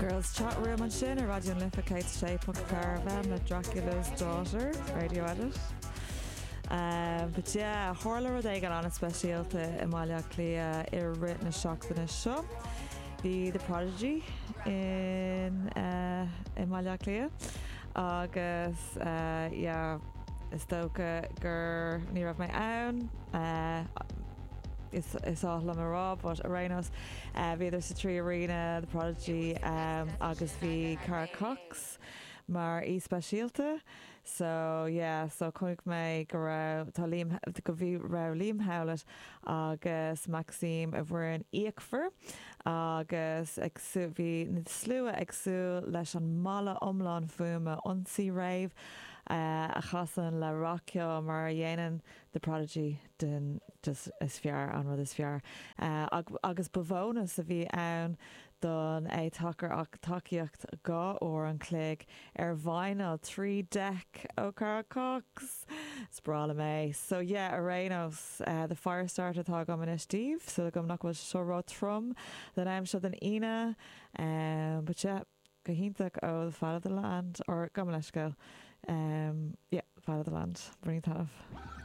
Girls Chat Room ansin ar Raidió na Life 106.4 FM le Dracula's Daughter, Radio Edit. But yeah, tharla rud éigin an-speisialta i mBaile Átha Cliath i rith na seachtaine seo. Bhí The Prodigy in i mBaile Átha Cliath agus yeah, is dócha gur ní raibh mé ann. Is is oth liom a rá but ar aon nós bhíodar sa 3 Arena, The Prodigy agus bhí Carl Cox mar aoi speisialta so yeah so chonaic mé go raibh tá Liam go bhí raibh Liam Howlett agus Maxime i bhfoireann fhíochmhar agus ag bhí na slua ag súil leis an mballa iomlán fuaime ionsaí rave a chasann le rac-cheol mar a dhéanann The Prodigy den just is fearr, an rud is fearr. Agus ba bhónas a bhí ann don é tacar ach tacaíocht 2 uair an chloig ar vinyl 3 deck ó Carl Cox! Is breá liom é. So yeah, ar aon nós, The Firestarter atá agam anois daoibh, súil agam nach bhfuil sé seo ró-trom don am seo den Aoine. But yeah. Go hiontach ó The Fat of the Land, or gabh mo leithscéal, yeah, Fat of the Land, bainigí taitneamh.